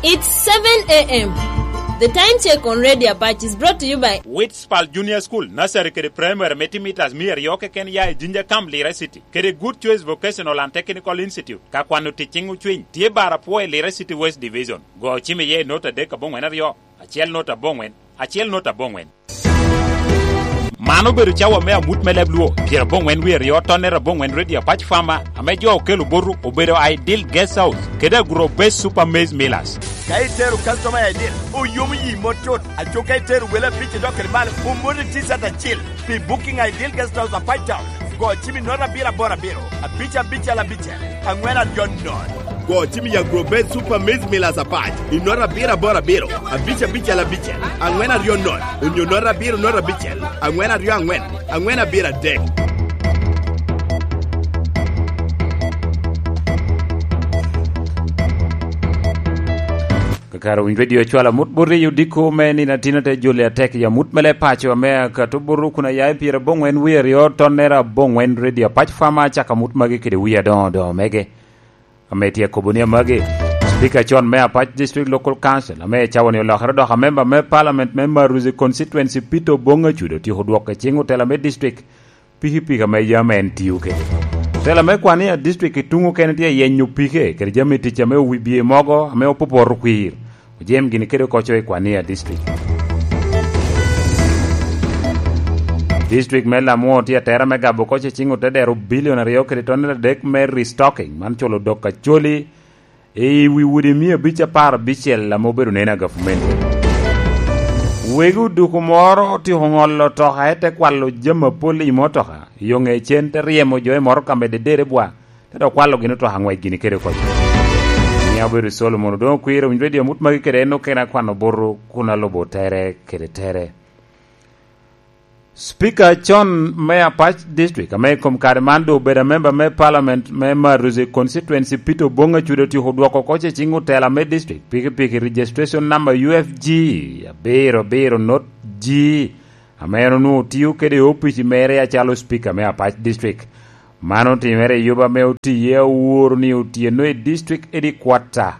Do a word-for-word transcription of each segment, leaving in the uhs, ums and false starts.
It's seven a m. The time check on Radio Apache is brought to you by Witspal Junior School, Nursery kede Primary me timitas mia aryo keken ya i Jinja Camp, Lira City, kede Good Choice Vocational and Technical Institute, ka kwano tic ciŋ ocwiny, tye bar apwo i Lira City West Division. Go ocim iye i nota adek aboŋwen aryo, acel nota aboŋwen, acel nota aboŋwen. Man obedo cawa me amut me leb Luo, pyeraboŋwen wie aryo tonnere aboŋwen Radio Apac Farmer, ame jo okelo boto obedo Ideal Guest House, kede Agro Base Super Maize Millers. Ka itero customer i Ideal, oyomo yi mot cut. Aco ka itero wele abic idok kede malo, omoti T-shirt acil. Pi booking Ideal Guest House Apac Town, go cim i nota abiro aboro abiro, abic abicel abicel, aŋwen aryo nono. Go cim i Agro Base Super Maize Millers Apac i nota abiro aboro abiro, abic abicel abicel, aŋwen aryo nono, onyo nota abiro nota abicel, aŋwen aryo aŋwen, aŋwen abiro adek. Kakare owiny Radio cwalo amut bot i odiko me nino atin ate joli atek i amut me leb paco ame akato bot kun aya i pyeraboŋwen wie aryo tonnere aboŋwen Radio Apac Farmer acako amut magi kede wie adoŋo doŋo mege. Ame tye akobo ni amagi, Speaker con me Apac District Local Council, ame i cawa-ni olokere dok amemba me Parliament me Maruzi Constituency, Peter Oboŋ Acudo, otyeko dwoko i ciŋ otela me district pikipiki ame yam en tio kede. Otela me Kwania District i tuŋ okene tye yenyo pike kede jami tic ame owibie mogo ame opopoto kwir. Ojem gini kede oko co i Kwania District. District me Lamwo tye atera me gabo oko co i ciŋ otedero bilion aryo kede tonnere adek me restocking, man culo dok acoli i wi udi mia abic apar abicel ame obedo neno a gavumenti. Wegi oduku moro otyeko ŋolo otoka, ete kwalo jami apol i motoka, yo ŋe cen te ryemo jo i motoka medde dere bwa, te dok kwalo gin otoka aŋwec gini kede oko. Mia obedo Solomon Odoŋo Kwir, owinyo Radio amut magi kede en okene akwano buto kun alubo tere kede tere. Speaker con me Apac District, ame i kom kare man doŋ obedo amemba me Parliament me Maruzi Constituency, Peter Oboŋ Acudo, otyeko dwoko oko ce ciŋ otela me district pikipiki registration number U F G abiro abiro not G, ame en onwoŋo tio kede i opici mere acalo Speaker me Apac District. Man otimere i yuba ame otiye aworo ni otyeno i district headquarter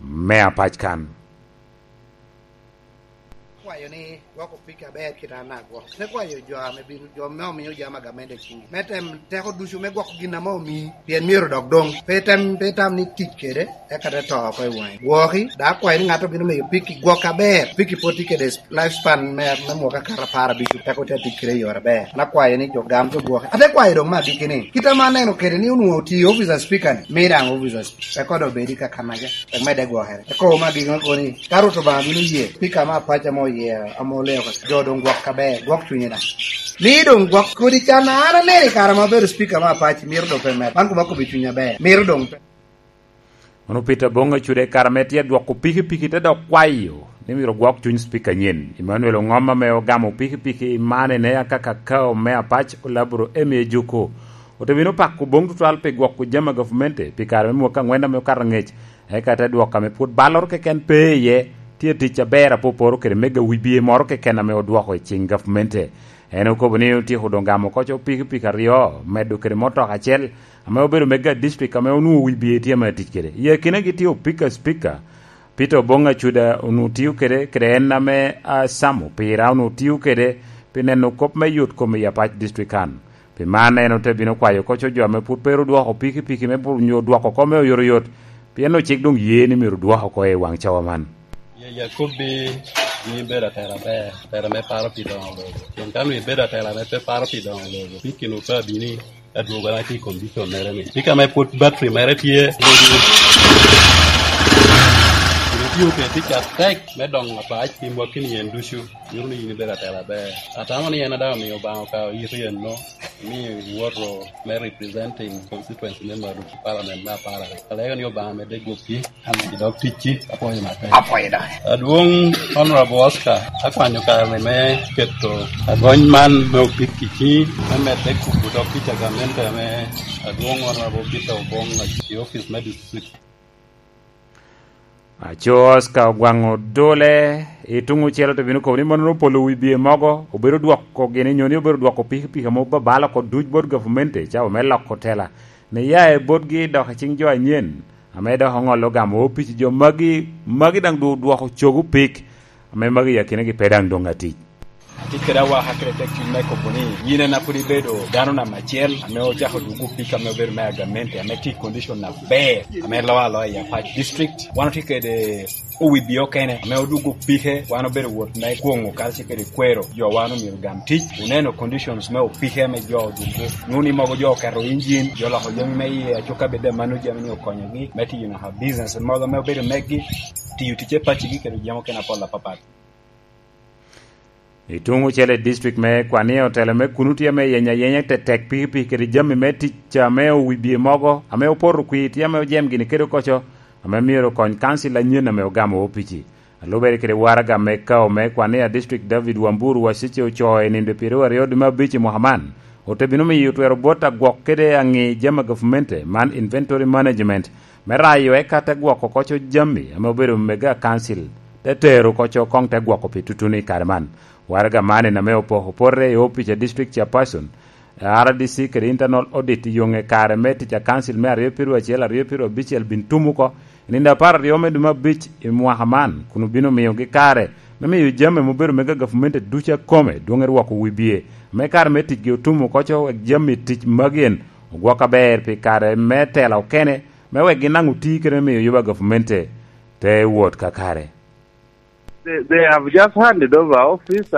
me Apac kan. Kwayo ni gwok opiki aber kit an agwok. Te kwayo jo ame bino, jo me omiyo jami a gamente i ciŋgi. Me tem teko ducu me gwoko gin ame omii, pien myero dok doŋ. Pe item, pe itam ni tic kede, eka te to oko i waŋi. Gwoki, dok akwayo ni ŋat obino miyo piki gwok aber. Piki pwod tye kede life span me, me mwaka kato apar abic, teko te tic kede i yore aber. An akwayo ni jo gam jo gwoki. Ate kwayo doŋ me agikki ni, kit ame aneno kede ni onwoŋo oti i office a speaker ni, mi daŋ office a speaker. Eko doŋ obedi ka kanaca, tek medde gwokere. Eko ma gin ŋo ni, ka Rwot Obaŋa bino ye, pika me Apac ame oye, ame oleo ka, jo doŋ gwok aber, gwok cunye daŋ. Ni doŋ gwok kodi can, an aneno i kare ma abedo speaker me Apac, myero doŋ pe med. Man kuma kobbi cuny aber, myero doŋ pe. Ono Peter Bonga cude kare ame tye dwoko pikipiki te dok kwayo ni myero gwok cuny speaker nyen. Emmanuel Ongom ame ogamo pikipiki i manene aka kakao me Apac olaburo Emmy Ejuku. Ote bino pako Oboŋ tutwal pi gwoko jami a gavumenti pi kare me mwaka aŋwen ame okato aŋec, eka te dwoko ame pwod balloro keken pe iye, tye tic aber apoporo kede mega wibie moro keken ame odwoko i ciŋ gavumenti. En okobo ni otyeko doŋ gamo oko co pikipiki aryo, medo kede motoka acel, ame obedo mega district ame onwoŋo wibie tye ame atic kede. I akinagi tye opika speaker, Peter Oboŋ Acuda onwoŋo tio kede, kede en ame, a, Sam Opira onwoŋo tio kede pi neno kop me yot kom i Apac District kan. Pi man en ote bino kwayo oko co jo ame pwod pe ru dwoko pikipiki me bu-, nyo dwoko oko me oyotoyot, pien ocik doŋ ye ni myero dwoko oko i waŋ cawa man. Ye, ye akobbi ni ibedo atela aber, atela me paro pi doŋo lobo. Pien ka nwoŋo ibedo atela ame pe paro pi doŋo lobo, pikinu pe abini adwogona tye i condition mere ni. Pika me pwod battery mere tye, pwod itio kede tic atek me doŋo Apac pi mwakki ni en ducu. Nyuto ni in ibedo atela aber. Atamo ni en a daŋ omio Obaŋa okawo yiti enno, ni iwoto me representing constituency me Maruti Parliament me Aparare. Alego ni Obaŋa medde gwokki, i dog ticci, apwoyo matek. Apwoyo daŋ. Adwoŋ Honorable Oscar, akwanyo kare me keto agony man me opik i ciŋi, me medde kubo dog tic a gamente ame Adwoŋ Honorable Peter Oboŋ i office me district. Aco Oscar Ogwaŋ Odole, i tuŋ ocele te bino kobo ni mono opolo wi bie mogo, obedo dwoko gini nyo ni obedo dwoko pikipiki ame obabalo oko duc bot gavumenti, cawa me loko tela, ni ya i botgi dok i ciŋ jo anyen, ame dok oŋolo gamo opic i jo magi, magi daŋ dwoko cogo pik, ame magi i akinagi pe daŋ doŋ atic. Atye kede awaka kede tek cuny me kobo ni yin en a pwod ibedo dano namba acel ame ocako dwogo pik ame obedo me agamente ame tye i condition aber ame loo aloa i Apac District. Wan otye kede owibio okene ame odwogo pike, wan obedo wot me kwoŋo karacel kede kwero jo wan omyero gam tic. Oneno conditions me opike ame jo odwogo, nwoŋo ni mogo jo oketo injin, jo oloko jami me iye, acukka bed amano jami ni okonyogi me tiyo naka business mogo ame obedo meggi, tiyo ticce pacigi kede jami okene apol apapat. I tuŋ ocele i district me Kwania, otelo me kuno tye ame yenyo ayenya tetek pikipiki kede jami me tic ame owibie mogo ame opoto kwir tye ame ojem gini kede okoco, ame myero okony kancil anyen ame ogamo opici. Alubere kede waraga me kao me Kwania District, David Wamburu Wasece, ocoo i nino pyeraryo aryo dwe me abic i mwaka man, ote bino miyo twero bot agwok kede aŋi jami a gavmente man inventory management, me rayo eka te gwoko koco jami ame obedo mege a kancil, te tero koco koŋ te gwoko pi tutuno i kare man. Waraga man en ame opoko pote i opic a district chairperson, R D C kede internal audit i yoŋe kare me tic a kancil me aryo pyeraryo acel, aryo pyeraryo abicel bin tum oko i nino apar aryo me dwe me abic i mwaka man, kun obino miyogi kare me miyo jami ame obedo mege a gavumenti ducu akome dwoŋ erwoko wibie, me kare me ticgi otum oko co wek jami tic magi en ogwok aber pi kare me tela okene, me wek gin daŋ oti kede me miyo yuba gavumenti te wot kakare. They, they have just handed over office.